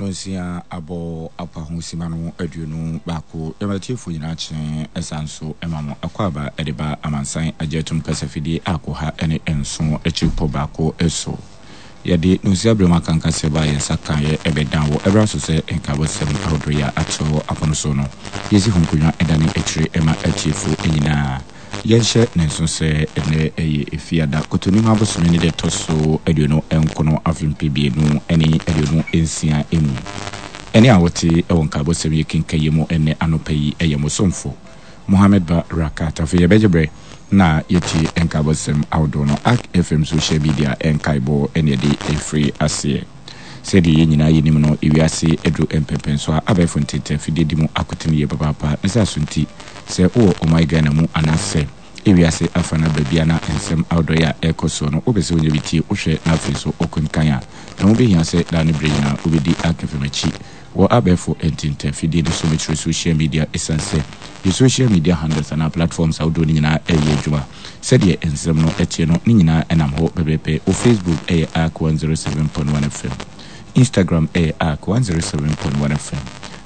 Nonsia abɔ apa ho simma no 21. Yɛma atiefo nyinaa kye ɛsan nso ma mo akwaaba de ba amansan agye atum kasafidie a koha ne nson akyiripɔ baako so. Yɛde nonsia berɛ mu akankaseɛ ba a yɛn nsa kaeɛ ɛbɛdan wɔ ɛberɛ aso sɛ nkaebɔsɛm ahodoɔ yi a ato apono so no yɛsi ho nkonnwa dane akyire ma atiefo nyinaa. Yɛnhyɛ no nso sɛ ɛnnɛ yɛ Efiada, Kɔtɔnim abosome ne da ɛtɔ so 29 afe 2026 mu. Ɛnne a wote wɔ nkaebɔsɛm yi kenkan yi mu ɛnnɛ anɔpa yi yɛ mo somfo, Mohammed Ba Rakat. Afei yɛbɛgye berɛ na yɛatie nkaebɔsɛm ahodoɔ no. Ark FM social media nkaebɔ na yɛde refiri aseɛ. Sɛdeɛ yɛn nyinaa yɛnim no, ewiase aduru mpɛnpɛnsoɔ a abɛɛfo ntentan afidie di mu akotene yie papaapa. Ne saa so nti, sɛ wowɔ ɔman Ghana mu anaasɛ ewiase afa no baabi a na nsɛm ahodoɔ yi a ɛrekɔ soɔ no wopɛ sɛ wonya bi tie, wohwɛ na afei nso wokenkan a, ɛho bɛhia sɛ daa ne berɛ nyinaa wobɛdi Ark-FM akyi wɔ abɛɛfo ntentan afidie no so, mekyerɛ social media, ɛsiane sɛ yɛn social media handles anaa platforms ahodoɔ no nyinaa reyɛ adwuma. Sɛdeɛ nsɛm no teɛ no, ne nyinaa nam hɔ pɛpɛɛpɛ. Wɔ Facebook ɛyɛ Ark 107.1 FM, Instagram ɛyɛ Ark 107.1 FM,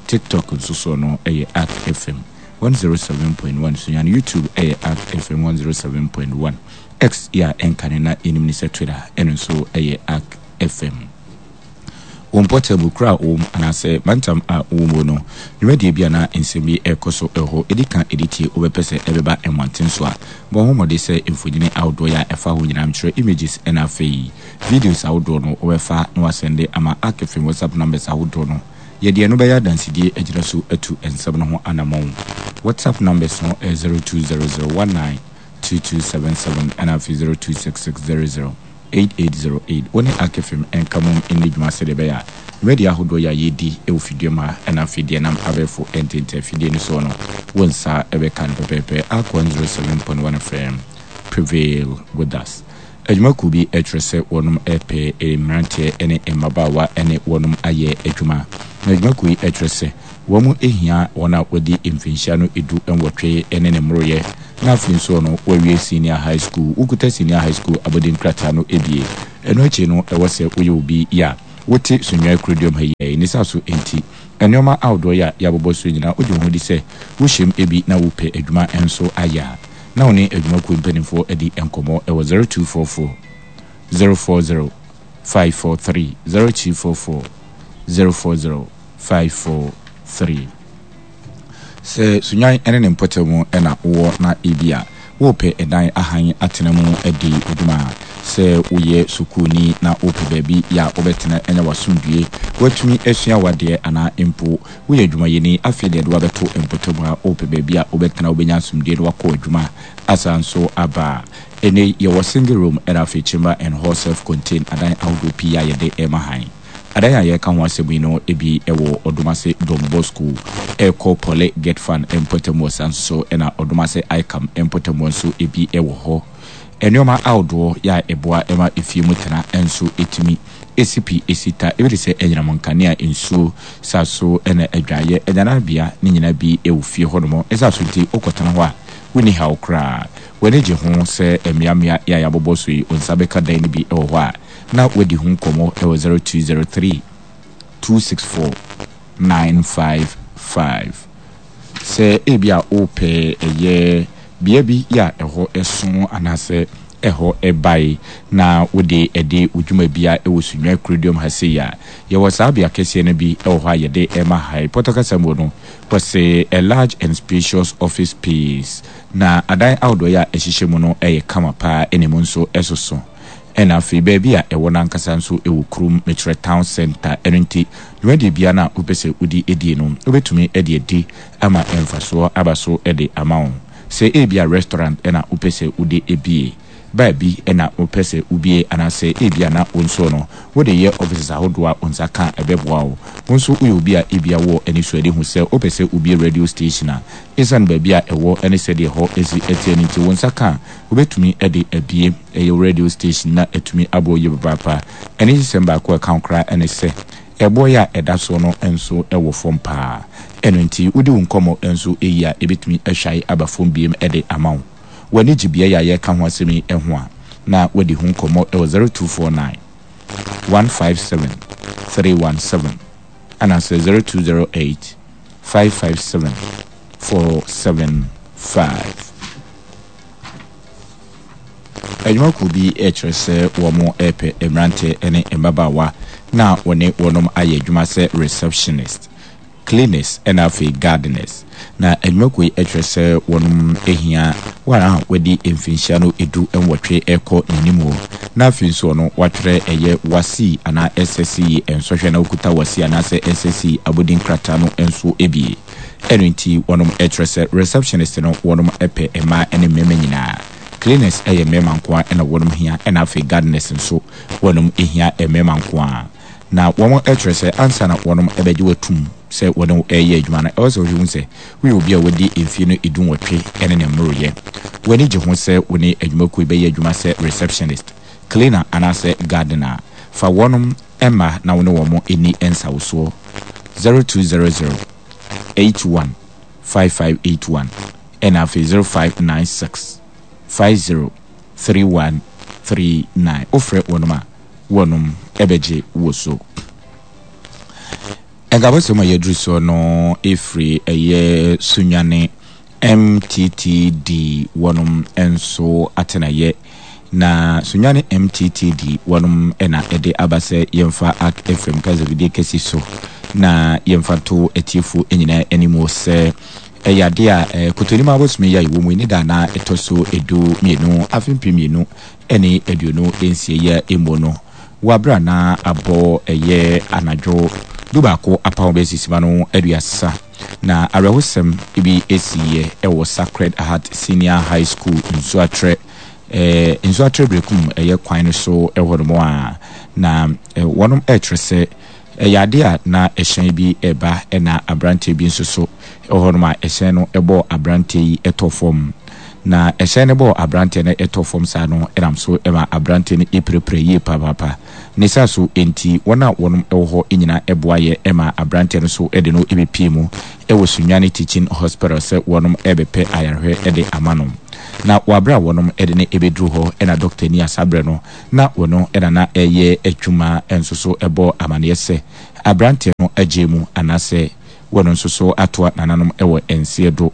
TikTok nso soɔ no ɛyɛ Ark FM 107.1, Sunyani YouTube ɛyɛ Ark FM 107.1, X yɛ a ɛnkane na yɛnim ne sɛ Twitter ɛno nso ɛyɛ Ark FM. Wo mpɔtam, wo kuro a wowɔ mu anaasɛ mantam a wowɔ mu no, dwumadie bi anaa nsɛm bi rekɔ so wɔ hɔ, ɛdi kan ɛdi tie, wobɛpɛ sɛ ɛbɛba mmɔnten so a, bɔ ho mmɔden sɛ mfonini ahodoɔ yi a ɛfa ho nyinaa, mekyerɛ images ɛna afei videos ahodoɔ no, wobɛfa na woasɛnde ama Arc-Fm WhatsApp numbers ahodoɔ no. Yɛde ɛno bɛyɛ adansedie agyina so atu nsɛm no ho anammɔn. WhatsApp numbers no yɛ 0200192277 ɛna afei 026600. 8808 Wo ne Akefem nka mom nni dwuma sɛdeɛ ɛbɛyɛ a dwumadie ahodoɔ yi a yɛredi wɔ fidua mu ha ɛna afei deɛ ɛnam abɛɛfo ntentan afidie no soɔ no wo nsa bɛka no pɛpɛɛpɛ. Ark 107.1 FM prevail with us. Adwumakuo bi kyerɛ sɛ wɔnom repɛ mmeranteɛ ne mmabaawa ne wɔnom ayɛ adwuma. Na adwumakuo yi kyerɛ sɛ wɔn hia wɔn a wɔadi mfinhyia no 18 ne ne mmoroyɛ Na afei nso no, woawie senior high school, wokuta senior high school abɔdin krataa no abie. Ɛno akyi no, ɛwɔ sɛ woyɛ obi yɛ a wote Sunyani kuroduam ha yi. Ne saa so nti, nnoɔma ahodoɔ yi a yɛabobɔ so yi nyinaa, wogye wo ho di sɛ wohyɛm bi na wopɛ adwuma nso ayɛ a, na wo ne adwumakuo mpanimfoɔ adi nkɔmmɔ wɔ 0244 040 543, 0244 040 543. Sɛ Sunyani ne ne mpɔtam na wowɔ na ebia worepɛ dan ahan atena mu adi wo dwuma a, sɛ woyɛ sukuuni na worepɛ baabi a wobɛtena anya w'asomdwoe, woatumi asua w'adeɛ anaa mpo woyɛ adwumayɛni afei na yɛde wo abɛto mpɔtam a worepɛ baabi a wobɛtena wobɛnya asomdwoe na woakɔ w'adwuma asan nso aba a, ɛnnɛ yi yɛwɔ single room ɛna afei chamber and hall self-contained adan ahodoɔ pii a yɛde rema han. Adan a yɛreka ho asɛm yi no bi wɔ Ɔdomase Don Bosco rekɔ Pɔle Getfan mpɔtam wɔ saa nso so na Ɔdomase Icam mpɔtam hɔ nso bi wɔ hɔ. Nnoɔma ahodoɔ yɛ a ɛboa ma efie mu tena nso tumi si pi si ta, ebi te sɛ anyinam nkanea, nsuo, saa so na adwaeɛ, agyananbea ne nyinaa bi wɔ fie hɔnom. Ne saa so nti wokɔtena hɔ a wonni haw koraa. W'ani gye ho sɛ mmeammea yi a yɛabobɔ so yi wo nsa bɛka dan no bi wɔ hɔ a, na wadi ho nkɔmmɔ wɔ 0203 264 955. Sɛ ebia worepɛ ɛyɛ bea bi a ɛhɔ so anaasɛ ɛhɔ bae na wode adi wo dwuma bi a ɛwɔ Sunyani Kuroduam ha sei a, yɛwɔ saa bea kɛseɛ no bi wɔ hɔ a yɛde rema ha yi. Pɔtɔ kasa mu no, wɔse a large and spacious office space. Na adan ahodoɔ yi a ɛhyehyɛ mu no yɛ kama paa ɛna emu nso soso. Ɛna afei baabi a ɛwɔ no ankasa nso wɔ kurom, mekyerɛ town centre, ɛno nti dwumadie biara no a wopɛ sɛ wodi die no, wobɛtumi de adi ama mfasoɔ aba so de ama wo. Sɛ ebia restaurant na wopɛ sɛ wode bie, bar bi na wopɛ sɛ wobie anaasɛ ebia na wo nso no wode yɛ offices ahodoɔ a wo nsa ka a ɛbɛboa wo. Wo nso woyɛ obi a ebia wowɔ anisoadehu sɛ wopɛ sɛ wobie radio station a, esiane baabi a ɛwɔ ne sɛdeɛ ɛhɔ si teɛ no nti wo nsa ka a, wobɛtumi de abue ɛyɛ wo radio station na atumi abɔ wo yie papaapa. Anigyesɛm baako a ɛka ho koraa ne sɛ, ɛboɔ yi a ɛda soɔ no nso wɔ fam pa ara. Ɛno nti, wodi wo nkɔmmɔ nso yie a, ɛbɛtumi ahwae aba fam bio de ama wo. W'ani gye beaeɛ a yɛreka ho asɛm yi ho a, na woadi ho nkɔmmɔ wɔ 0249 157 317. anaasɛ 0208 557 475. Adwumakuo bi rekyerɛ sɛ wɔrepɛ mmeranteɛ ne mmabaawa na wɔne wɔnom ayɛ adwuma sɛ receptionist, cleaners ɛna afei gardeners. Na adwumakuo yi kyerɛ sɛ wɔnom hia wɔn a wɔadi mfinhyia no 18 rekɔ n'anim na afei nso ɔno watwerɛ ɛyɛ WASSCE anaa SSCE nsɔhwɛ na ɔkuta WASSCE anaasɛ SSCE abodin krataa no nso bi. Ɛno nti wɔnom kyerɛ sɛ receptionist no wɔnom pɛ mmaa ne mmarima nyinaa. Cleaners yɛ mmarima nko ara na wɔnom hia ɛna afei gardeners nso wɔnom hia mmarima nko ara. Na wɔn kyerɛ sɛ ansa na wɔnom bɛgye wo atum sɛ wɔne wo reyɛ adwuma no ɛwɔ sɛ wohwɛ hu sɛ woyɛ obi a wadi mfie no dunwɔtwe ne ne mmoroyɛ. W'ani gye ho sɛ wo ne adwumakuo yi bɛyɛ adwuma sɛ receptionist, cleaner anaasɛ gardener a, fa wɔnom mma na wo ne wɔn nni nsawosoɔ. 0200 81 5581 ɛna afei 0596 50 3139. Wofrɛ wɔnom a, wɔnom bɛgye wo so. Nkabɔsɛm a yɛaduru soɔ no ɛfiri ɛyɛ Sunyani MTTD wɔnom nso atenaeɛ. Na Sunyani MTTD wɔnom na ɛde aba sɛ yɛmfa Ark FM kasafidie kɛsi so na yɛmfa nto atiefoɔ nyinaa anim sɛ ɛyɛ adeɛ a Kotonim abosome yi a yɛwɔ mu yi ne da a ɛtɔ so 12 afe 2026 yi a mu no wɔ aberɛ a na abɔ ɛyɛ anadwo dubaako apam bɛyɛ sima no 30. Na awerɛhosɛm bi siiɛ wɔ Sacred Heart Senior High School Nsuatrɛ, eh, Nsuatrɛ Berekum ɛyɛ kwan no so hɔ nom a, na wɔnom ɛrekyerɛ sɛ ɛyɛ adeɛ a na ɛhyɛn bi reba na aberanteɛ bi nso so wɔ hɔ nom a ɛhyɛn no bɔɔ aberanteɛ yi tɔ fam. Na ɛhyɛn no bɔɔ aberanteɛ no tɔ fam saa no nam so ma aberanteɛ no pirapira yie papaapa. Ne saa so nti, wɔn a wɔnom wɔ hɔ nyinaa boaeɛ maa aberanteɛ no so de no bɛpie mu wɔ Sunyani Teaching Hospital sɛ wɔnom rebɛpɛ ayarehwɛ de ama no. Na wɔ aberɛ a wɔnom de no bɛduru hɔ na dɔktani a saa berɛ no na wɔno na na ɛreyɛ adwuma nso so bɔɔ amaneɛ sɛ aberanteɛ no agyae mu anaasɛ wɔno nso so atoa nananom wɔ nseɛ do.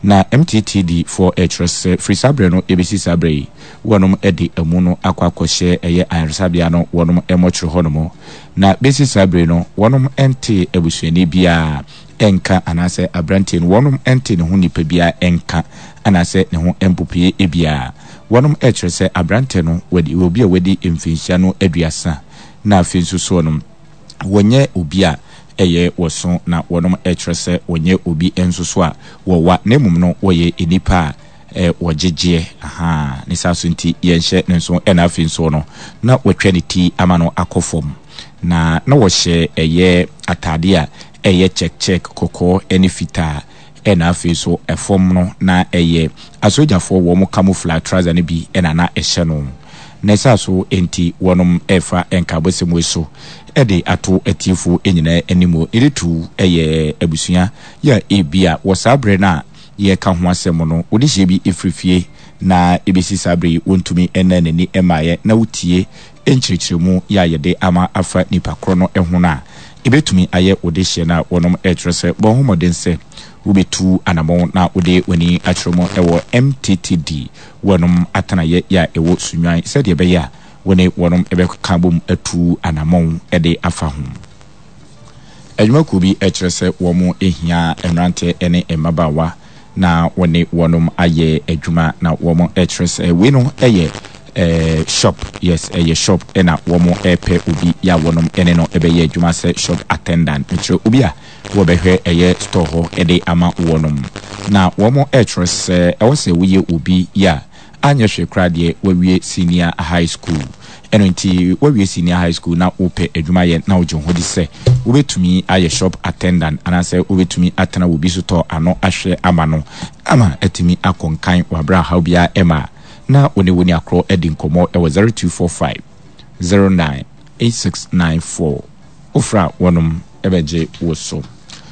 Na MTTD foɔ rekyerɛ sɛ firi saa berɛ no bɛsi saa berɛ yi, wɔnom de amu no akɔ akɔhyɛ ɛyɛ ayaresabea no wɔnom mmɔkyere hɔ nom. Na bɛsi saa berɛ yi no wɔnom ntee abusuani biara nka anaasɛ abranteɛ no wɔnom ntee ne ho nipa biara nka anaasɛ ne ho mpopoeɛ biara. Wɔnom rekyerɛ sɛ abrantɛ no wadi obi a wadi mfinhyia no 30 na afei nso soɔ no wɔnyɛ obi a ɛyɛ wɔso na wɔnom kyerɛ sɛ wɔnyɛ obi nso so a wɔwa na mmom no wɔyɛ nnipa a wɔgyegyeɛ ahaa ne saa so nti yɛnhyɛ ne nso ɛna afei nso no na wɔatwa ne ti ama no akɔ fam na na wɔhyɛ ɛyɛ ataadeɛ a ɛyɛ check check kɔkɔɔ ɛne fitaa Ɛna afei nso ɛfam no na ɛyɛ asogyafoɔ wɔn camouflage trouser no bi na na ɛhyɛ no. Ne saa so nti wɔnom ɛrefa nkaabɔsɛm wei so de ato atiefoɔ nyinaa anim. Ne de tu yɛ abusua yɛ a ebia wɔ saa berɛ no a yɛreka ho asɛm no wɔde hyɛ bi firi fie na ɛbɛsi saa berɛ yi wɔntumi nnaa n'ani mmaeɛ na wotie nkyerɛkyerɛmu yɛ a yɛde ama afa nipa korɔ no ho no a, ɛbɛtumi ayɛ wo dehyeɛ no a wɔnom rekyerɛ sɛ bɔ ho mmɔden sɛ wobɛtu anamɔn na wode w'ani akyerɛ mu wɔ MTTD wɔnom atenaeɛ yɛ a ɛwɔ Sunyani sɛdeɛ ɛbɛyɛ a wo ne wɔnom bɛka bom atu anamɔn de afa ho. Adwumakuo bi kyerɛ sɛ wɔn hia mmeranteɛ ne mmabaawa na wɔne wɔnom ayɛ adwuma na wɔn kyerɛ sɛ wei no yɛ shop, yes ɛyɛ shop na wɔn repɛ obi yɛ a wɔnom ne no bɛyɛ adwuma sɛ shop attendant, mekyerɛ obi a wɔbɛhwɛ ɛyɛ store hɔ de ama wɔnom na wɔn kyerɛ sɛ ɛwɔ sɛ woyɛ obi yɛ a Anyɛ hwee koraa deɛ wawie senior high school. Ɛno nti wawie senior high school na wopɛ adwuma yɛ na wogye wo ho di sɛ wobɛtumi ayɛ shop attendant anaasɛ wobɛtumi atena wɔ bi sotɔɔ ano ahwɛ ama no ama atumi akɔ nkan wɔ aberɛ a haw biara ɛmma a na wo ne wo nuakorɔ adi nkɔmmɔ wɔ 0245 09 8694. Wofrɛ a wɔnom bɛgye wo so.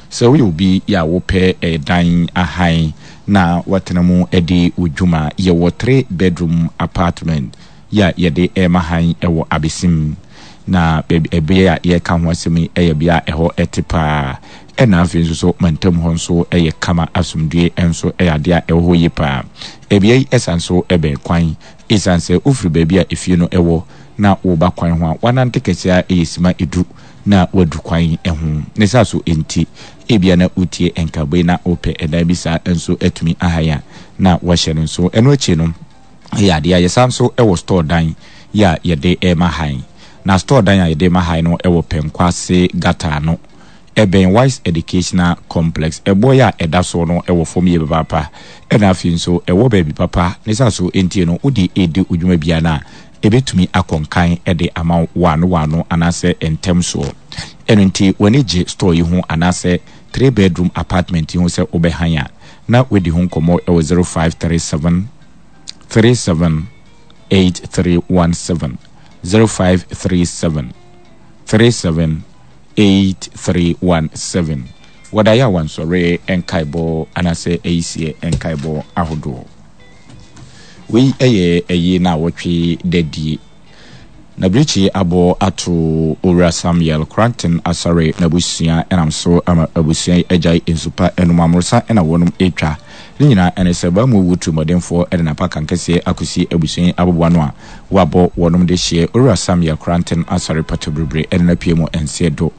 Sɛ woyɛ obi a wopɛ dan ahan na woatena mu adi wo dwuma, yɛwɔ three bedroom apartment yi a yɛde rema han wɔ Abesim. Na baabi ɛbeaɛ a yɛreka ho asɛm yi yɛ bea a ɛhɔ te paa. Ɛna afei nso so mantam hɔ nso yɛ kama, asomdwoeɛ nso yɛ adeɛ a ɛwɔ hɔ yie paa. Ɛbea yi san nso bɛn kwan. Esiane sɛ wofiri baabi a efie no wɔ na woreba kwan ho a, woanante kɛseɛ ara yɛ sima du na woadu kwan ho. Ne saa so nti, ebia na wotie nkaebɔ yi na wopɛ ɛdan bi saa nso atumi ahan a, na woahyɛ no nso. Ɛno akyi no, yɛ adeɛ a yɛsan nso wɔ store dan yi a yɛde rema han. Na store dan a yɛde rema han no wɔ Pɛnkwase gutter ano. Ɛbɛn Wise Educational Complex. Ɛboɔ yi a ɛda soɔ no wɔ fam yie papaapa. Ɛna afei nso ɛwɔ baabi papa. Ne saa so nti no wode redi wo dwuma biara no a, ɛbɛtumi akɔ nkan de ama wo waano waano anaasɛ ntɛm soɔ. Ɛno nti w'ani gye store yi ho anaasɛ 3 bedroom apartment yi ho sɛ wobɛhan a, na woadi ho nkɔmmɔ wɔ 0537 37 8317, 0537 37 8317. Wɔda yɛ a wansɔre nkaebɔ anaasɛ ayisiɛ nkaebɔ ahodoɔ. Wei yɛ ɛyi na wɔtwe dadie. Na birikyi abɔ ato Owura Samuel Koranteng Asare n'abusua nam so ama abusua yi agyae nsu pa nom amorosa na wɔnom retwa. Ne nyinaa ne sɛ Baamu wu tirimɔdenfoɔ de n'apakan kɛseɛ akɔsi abusua yi aboboano a wɔabɔ wɔnom de hyeɛ Owura Samuel Koranteng Asare Patoberebre de no apue mu nseɛ do.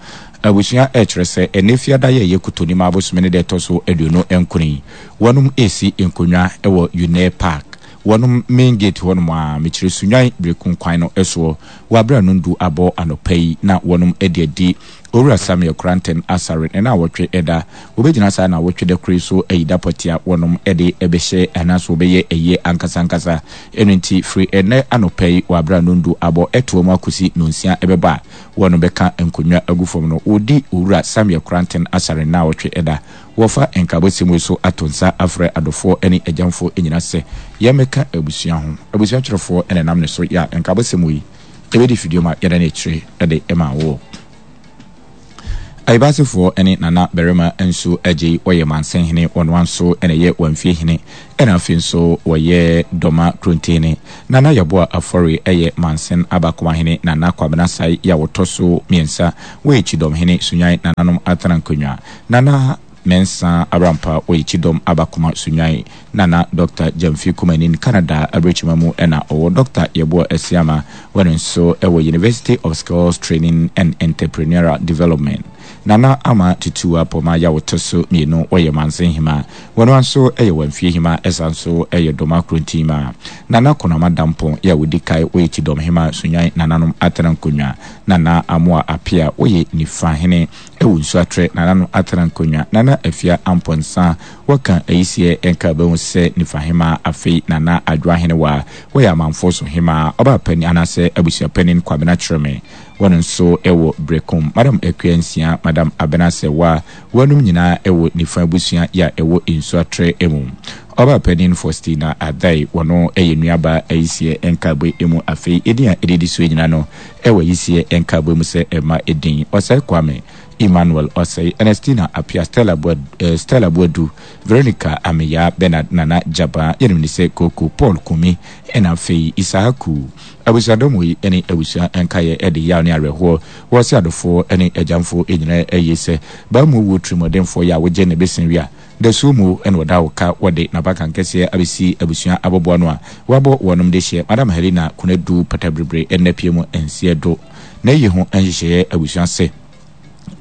Abusua rekyerɛ sɛ ɛnnɛ Fiada yi a ɛyɛ Kotonimaa bosome ne da ɛtɔ so 24 yi wɔnom resi nkonnwa wɔ Unair Park Wɔnom main gate hɔ nom ara, mekyerɛ Sunyani Berekum kwan no soɔ, wɔ aberɛ a nondu abɔ anɔpa yi na wɔnom de adi Owura Samuel Koranteng Asare ne naawɔtwe da. Wɔbɛgyina saa naawɔtwe da koro yi so ayi da pɔtee a wɔnom de bɛhyɛ anaasɛ wɔbɛyɛ ayie ankasa ankasa. Ɛno nti firi ɛnnɛ anɔpa yi wɔ aberɛ a nondu abɔ ɛtoa mu akɔsi nonsia ɛbɛbɔ a wɔnom bɛka nkonnwa agu fam no, wɔredi Owura Samuel Koranteng Asare ne naawɔtwe da. Wɔfa nkaabɔsɛm yi so ato nsa afrɛ adɔfoɔ ne agyamfoɔ nyina sɛ yɛmmɛka abusua ho. Abusua twerɛfoɔ na ɛnam ne so yɛ a nkaabɔsɛm wei ɛbɛdi fidua ma yɛda no akyire de ma woɔ. Ayibasefoɔ ne Nana Barima nso agyei wɔyɛ Mansenhene, wɔnoa nso na ɛyɛ Wamfie hene ɛna afei nso wɔyɛ Dɔma Kurontehene. Nana Yeboah Afɔre yɛ Mansen Abakomahene, Nana Kwabena Sae yɛ a wɔtɔ so mmiɛnsa, wɔyɛ Kyidɔmhene, Sunyan Nananom Atena Nkonnwa. Nana Mensah Abrampa ɔyɛ Kyidɔm Abakoma Sunyani, Nana Dɔkta Gyamfi Kumanin, Canada abirekyima mu na ɔwɔ Dɔkta Yeboah Asiamah, wɔ no nso wɔ University of Skills Training and Entrepreneurial Development. Nana Ama Tutuwa Poma Yaw tɔ so mmienu, ɔyɛ Mansen Hema, wɔ no ara nso yɛ Wamfie Hema ɛsan nso yɛ Doma Kurontinma. Nana Konama Dampong yɛ a ɔdi kae, ɔyɛ Kyidɔm Hema Sunyani Nananom Atena Nkonnwa. Nana Amoah Appiah, ɔyɛ Nifa Hene. Ɛwɔ nsu atrɛ Nana no atena nkonnwa Nana Afia Amponsah Wɔka ayisiɛ nka bɛhu sɛ Nifa hemaa Afei Nana Adwoa Henewaa Wɔyɛ amanfoɔ so hemaa Ɔbaa panin anaasɛ abusua panin Kwabena Kyereme Wɔn nso wɔ Berekum Madam Akua Nsia Madam Abena Sɛwa Wɔnom nyinaa wɔ Nifa abusua yɛ a ɛwɔ nsu atrɛ mu Ɔbaa panin Faustina Adai Wɔno yɛ nuabaa ayisiɛ nkaabue mu Afei edin a ɛdidi soɔ nyinaa no Ɛwɔ yisie nkaebɔ mu sɛ ɛma edin Osei Kwame, Emmanuel Osei, Ernestina Appiah, Stella Boadu, Stella Boadu, Veronica Ameyaa, Bernard Nana Gyabaa, yɛnim no sɛ Koko, Paul Kumi, ɛna afei Issahaku. Abusuadɔm wei ne abusua nkaeɛ de yaw ne awerɛhoɔ wɔ se adɔfoɔ ne agyamfoɔ nyinaa ayie sɛ baa mu wuo tirimuɔdenfoɔ yɛ a wogye ne besen wia Dasuo mu na wɔda wo ka wɔde n'abakan kɛseɛ abɛsi abusua aboboano a wɔabɔ wɔnom de hyɛ Madam Helena Konadu Pataberebre nna pie mu nseɛ do. N'ayi ho nhyehyɛeɛ abusua se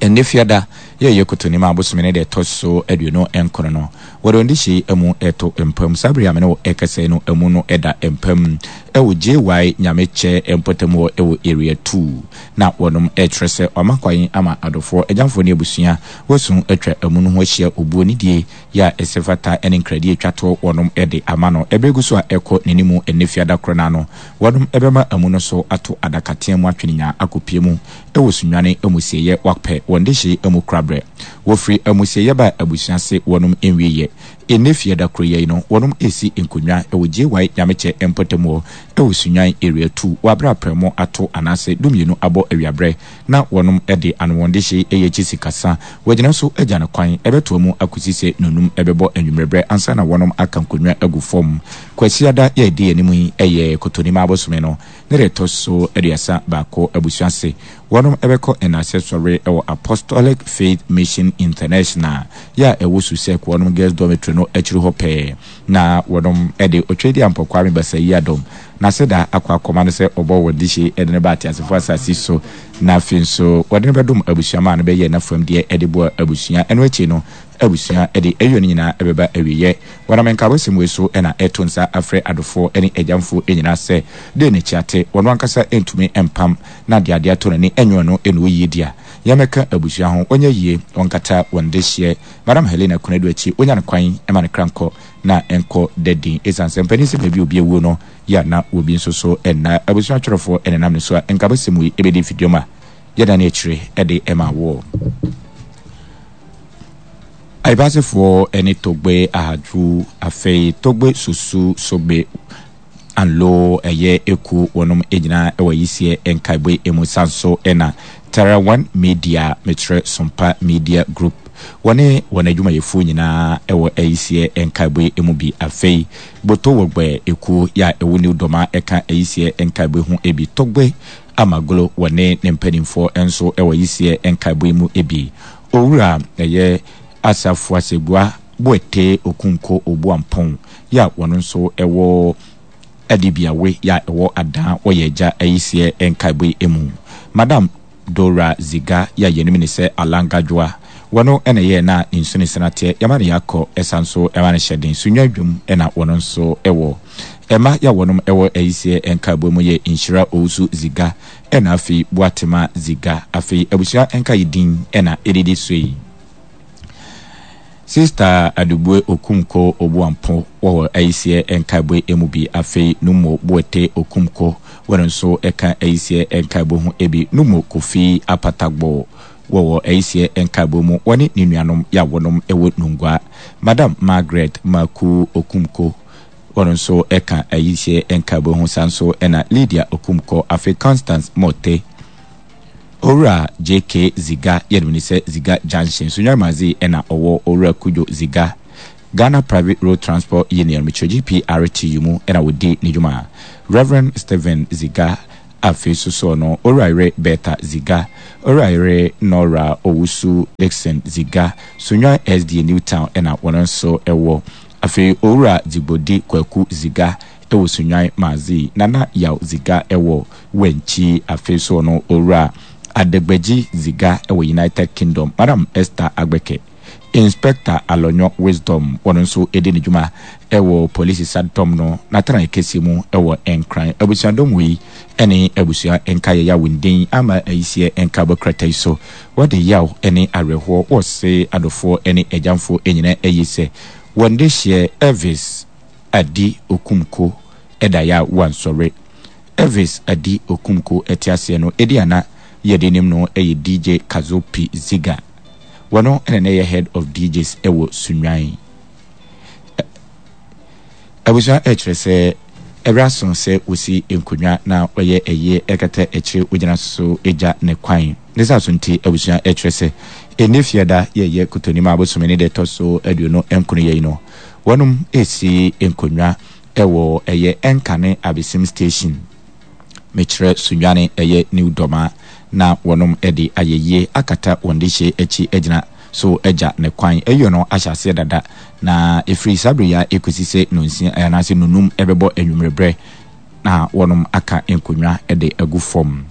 ɛnnɛ Fiada yɛ yɛ Kotonima bosome ne da ɛtɔ so 29 no wɔde wɔn dehyeɛ yi amu reto mpa mu. Saa bere yi a me ne wo rekasa yi no amu no da mpa mu wɔ JY Nyamekyɛ mpɔtam hɔ wɔ Area 2 na wɔnom rekyerɛ sɛ wɔama kwan ama adɔfoɔ, agyamfoɔ ne abusua Wɔasu atwa amu no ho ahyia obuo ne die yɛ a ɛsɛ fata ne nkradie a ɛtwa toɔ wɔnom de ama no. Ɛberɛ gu so a ɛrekɔ n'animu ɛnnɛ fiada korɔ no ara no, wɔnom bɛma amu no so ato adakatea mu atwe ne nyaa akɔpue mu wɔ Sunyani amusieeɛ wɔapɛ wɔn dehye amu koraberɛ. Wɔfiri amusieeɛ baa abusua se wɔnom nwieɛ. Ɛnnɛ fiada korɔ yi ara yi no, wɔnom resi nkonnwa wɔ JY Nyamekyɛ mpɔtam hɔ wɔ Sunyani Area 2 wɔ aberɛ a prɛmo ato anaasɛ dumienu abɔ awiaberɛ. Na wɔnom de anowɔndehye yɛ akyi sikasa. Wɔagyina so agya no kwan, ɛbɛtoa mu akosi sɛ nnɔnnum bɛbɔ anwummerɛberɛ ansa na wɔnom aka nkonnwa agu fam. Kwasiada yɛ ɛdi anim yi yɛ Kotonima abosome no. Ne deɛ ɛtɔ so 31, abusua se wɔnom bɛkɔ nnasɛ sɔre wɔ Apostolic Faith Mission International yɛ a ɛwɔ Susek wɔnom Girls Dormitory no akyiri hɔ pɛɛ. Na wɔnom de Otwedeampɔ Kwame Basayi-Adom n'aseda akɔ akɔma no sɛ ɔbɔɔ wɔn dehye de no baa ateasefoɔ asase so na afei nso wɔde no bɛdom abusua maa no bɛyɛɛ n'afam deɛ de boa abusua. Ɛno akyi no abusua de ayuo no nyinaa bɛba awieɛ. Wɔnam nkaabɔsɛm wei so na ɛreto nsa afrɛ adofoɔ ne agyamfoɔ nyinaa sɛ, Dɛn na Kyiate, wɔn ankasa ntumi mpam na de adeɛ ato n'ani nyɛ ɔno na ɔyie di a, yɛmmɛka abusua ho, ɔnyɛ yie, ɔnkata wɔn dehyeɛ. Madam Helena Konadu akyi, ɔnya no kwan ma ne kra nkɔ na ɛnkɔ da din. Ɛsiane sɛ mpanin sɛ baabi a obi awuo no yɛ a na obi nso so nna. Abusua atwerɛfoɔ na ɛnam ne so a nkaabɔsɛm wei bɛdi mfidwam a yɛdane akyire de ma woɔ. Aibasefoɔ ne Togbe Ahadwu, afei Togbe Susu Sogbe Anlo ɛyɛ ekuo wɔnom nyinaa wɔ ayisiɛ nkaebɔ yi mu san so na Tarawan Media mekyerɛ Sompa Media Group wɔne wɔn adwumayɛfoɔ nyinaa wɔ ayisiɛ nkaebɔ yi mu bi afei Boto Wɔgbɛ ekuo yɛ a ɛwɔ New Doma ɛka ayisiɛ nkaebɔ yi ho bi Togbe Amaglo wɔne ne mpanimfoɔ nso wɔ ayisiɛ nkaebɔ yi mu bi Owura ɛyɛ Asafo Asegua Boetee Okunko Obuampong yɛ a wɔno nso wɔ Adibiawe yɛ a ɛwɔ Adaa wɔ yɛn agya ayisiɛ nkaebɔ yi mu. Madam Dora Ziga yɛ a yɛnim no sɛ Alanga Dwoa, wɔno na ɛyɛɛ na ne nsu ne sena teɛ, yɛma no yɛakɔ ɛsa nso ɛma no hyɛ den. Sunnwa dwom na wɔno nso wɔ. Ɛma yɛ a wɔnom wɔ ayisiɛ nkaebɔ mu yɛ Nhyira Owusu Ziga ɛna afei Boatema Ziga. Afei abusua nkaeɛ din na ɛdidi so yi. Sista Adubue Okumko Obuampo wɔ ayisiɛ nkaebɔ emu bi. Afei Numo Boete Okumko wɔno nso ka ayisiɛ nkaebɔ ho bi. Numo Kofi Apatagbo wɔwɔ ayisiɛ nkaebɔ mu wɔne ne nuanom yɛ a wɔnom wɔ Nungua. Madam Margaret Maku Okumko wɔno nso ka ayisiɛ nkaebɔ ho saa nso na Lydia Okumko afei Constance Mote Owura JK Ziga yɛnim no sɛ Ziga Junction, Sunyani na ɔwɔ Owura Kudjo Ziga, Ghana Private Road Transport Union, mekyerɛ GPRTU, mu na ɔdi ne dwuma. Rev. Stephen Ziga afei nso soɔ no, Owura yere Bertha Ziga, Owura yere Nora Owusu Dickson Ziga, Sunyani SDA New Town na wɔn nso wɔ. Afei Owura Dzigbodi Kwaku Ziga wɔ Sunyani Madzi, Nana Yaw Ziga wɔ Wenchi, afei so ɔno Owura Adegbeji Ziga wɔ United Kingdom, Madam Esther Agbeke, Inspector Alonyo Wisdom, ɔno nso di ne dwuma wɔ Polisi Sadɔm no n'atenae kɛseɛ mu wɔ Nkran. Abusuadɔm wei ne abusua nkaeɛ yaw ndin ama ayisiɛ nkaebɔ krataa yi so. Wɔde yaw ne awerɛhoɔ wɔse adɔfoɔ ne agyamfoɔ nyinaa ayi sɛ wɔn dehyeɛ Elvis Adi Okumko da yɛ a wansɔre. Elvis Adi Okumko te aseɛ no edin a na yɛde nim no yɛ DJ Kazopi Ziga. Wɔno na na ɛyɛ head of DJs wɔ Sunyani. Abusua ɛkyerɛ sɛ ɛberɛ aso sɛ wɔsi nkonnwa na wɔyɛ ayie ɛkata akyire wɔgyina so gya ne kwan. Ne saa so nti abusua ɛkyerɛ sɛ ɛnnɛ fiada yɛyɛ Kotonim a bosome ne deɛ ɛtɔ so 29 yei no wɔnom ɛresi nkonnwa wɔ ɛyɛ Ɛnkane Abesim Station, mekyerɛ Sunyani ɛyɛ New Dɔma na wɔnom de ayɛyie akata wɔn dehyeɛ akyi agyina so agya ne kwan. Ayie no ahyɛ aseɛ dada na ɛfiri saa berɛ yi ara ɛkɔsi sɛ nonsia anaasɛ nonum bɛbɔ anwummerɛ berɛ na wɔnom aka nkonnwa de agu fam.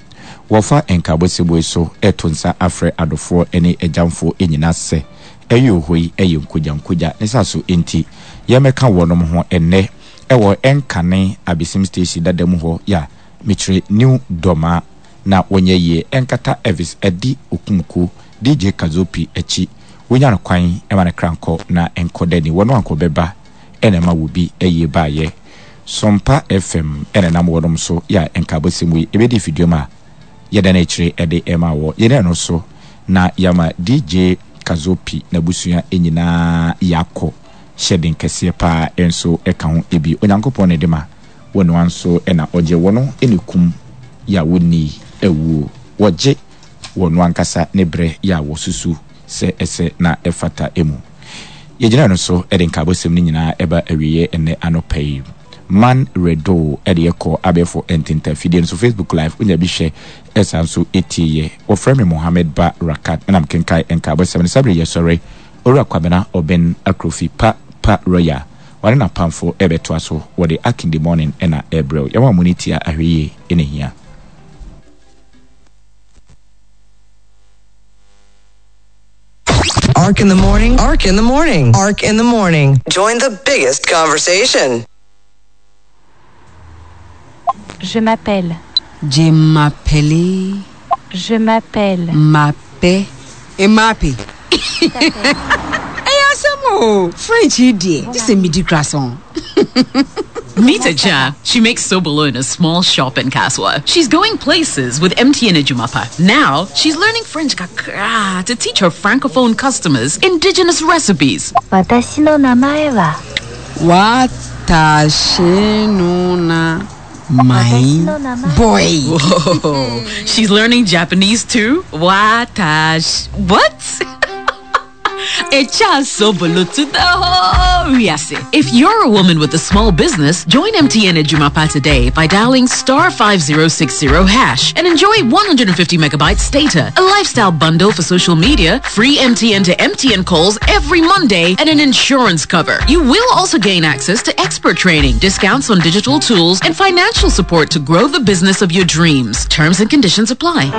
Wɔfa nkaabɔ seboe so to nsa afrɛ adɔfoɔ ne agyamfoɔ nyina sɛ Ɛyoo hɔ yi yɛ nkogyankogya ne sa so nti yɛmmɛka wɔnom ho ɛnnɛ ɛwɔ ɛnkane Abesim station dada mu hɔ ya mekyerɛ New Dɔma na wɔnyɛ yie ɛnkata Elvis Adi Okumku DJ Kazopi akyi wonya no kwan ma no kra nkɔ na nkɔ dani wɔno ankɔ bɛba ɛna ɛma wobi ayie baayɛ Sompa FM ɛna ɛnam wɔnom so ya nkaabɔsɛm wei ɛbɛdi fiduam a yɛda no akyire de rema wɔ yɛn ɛno so na yɛama DJ Kazopi n'abusua nyinaa yɛakɔ hyɛ den kɛseɛ paa nso ka ho bi. Onyankopɔn na ɛde ma, wɔnoa nso na ɔgye. Wɔno na ɛkum yɛ a wɔnni awuo. Wɔgye wɔno ankasa ne berɛ yɛ a wɔsusu sɛ ɛsɛ na ɛfata mu. Yɛgyina ɛno so de nkaabɔsɛm no nyinaa ɛba awieɛ ɛnnɛ anɔpa yi. Man Redo ɛde ɛkɔ abɛɛfo ntentan fidie no so Facebook live wonya bi hwɛ ɛsan nso ɛtie yɛ. Wɔfrɛ me Mohammed Ba Rakat ɛna mekenkae nkaabɔsɛm no saa bere yɛsɔre Owura Kwabena Oben Akrofi Pa Pa Royal ɔne n'apamfo ɛrebɛtoa so wɔde Akinde Morning ɛna ɛrebrɛ wo. Yɛma mo ne tia ahwɛyie ɛna ɛhia. Ark in the morning. Ark in the morning. Ark in the morning. Join the biggest conversation. Je m'appelle. Je m'appelle. Je m'appelle. M'appelle. Mmape. Ɛyɛ asɛm o. French yi deɛ, gye sɛ medi croissant. Meet Aja. She makes sobolo in a small shop in Kaswa. She's going places with MTN Ejumapa. Now, she's learning French kakra to teach her francophone customers indigenous recipes. 私の名前は Watashi no na my boy. Whoa. She's learning Japanese too? Watash. What? If you're a woman with a small business, join MTN Ejumapa today by dialing star 5060 hash and enjoy 150 megabytes data, a lifestyle bundle for social media, free MTN to MTN calls every Monday, and an insurance cover. You will also gain access to expert training, discounts on digital tools, and financial support to grow the business of your dreams. Terms and conditions apply.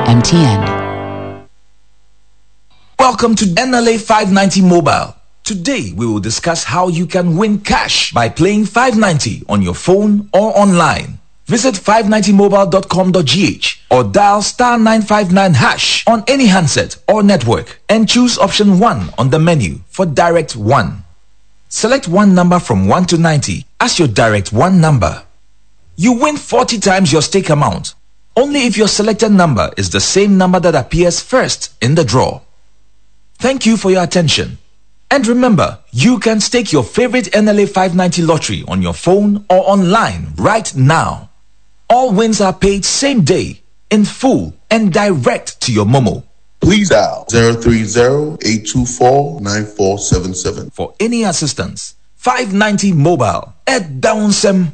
MTN. Welcome to NLA 590 Mobile. Today we will discuss how you can win cash by playing 590 on your phone or online. Visit 590mobile.com.gh or dial star 959 hash on any handset or network and choose option 1 on the menu for direct 1. Select one number from 1 to 90 as your direct 1 number. You win 40 times your stake amount only if your selected number is the same number that appears first in the draw. Thank you for your attention. And remember, you can stake your favorite NLA 590 lottery on your phone or online right now. All wins are paid same day, in full, and direct to your Momo. Please dial 030-824-9477. For any assistance, 590 Mobile at Downsem.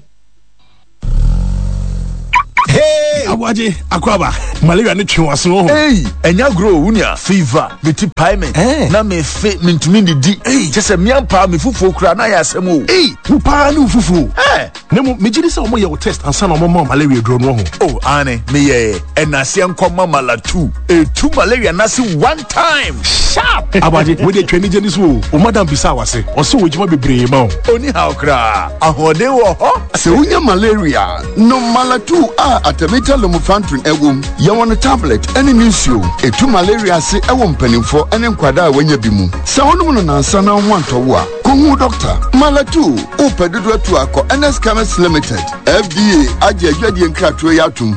Hey! Aboagye, akwaba. Malaria ne twe w'aso ho. Hey, ɛnya agorɔ o, wunia. Fever, me ti pae me. Eh. Na me fe, me ntumi ndidi. Hey. Kyɛ sɛ mmea mpaa me fufuo kura na ayɛ asɛm o. Hey, wo paa ne wo fufuo. Eh. Na mmom, megye di sɛ wɔyɛ wo test ansa na wɔma wo malaria duro no ho. Oh, aane, meyɛɛ. Ɛnaseɛ nkɔma malatu. Etu malaria n'ase one time. Sharp! Aboagye, wei deɛ twa anigye ne so o. Wo madam bisaa w'ase. Ɔse wɔ adwuma bebree ma wo. Onni haw koraa. Ahoɔden wɔ hɔ. Sɛ wonya malaria a, nom Malatu a artemether lumefantrine wom. Yɛwɔ no tablet ne ne nsuo. Ɛtu malaria ase wɔ mpanimfoɔ ne nkwadaa a wɔanya bi mu. Sɛ wonom no nnansa na wo ho antɔ wo a, kɔhu wo dɔkta. Malatu, wopɛ dodoɔ atu a, kɔ Ernest Chemist Limited. FDA agye adwadie nkratoɔ yi atom.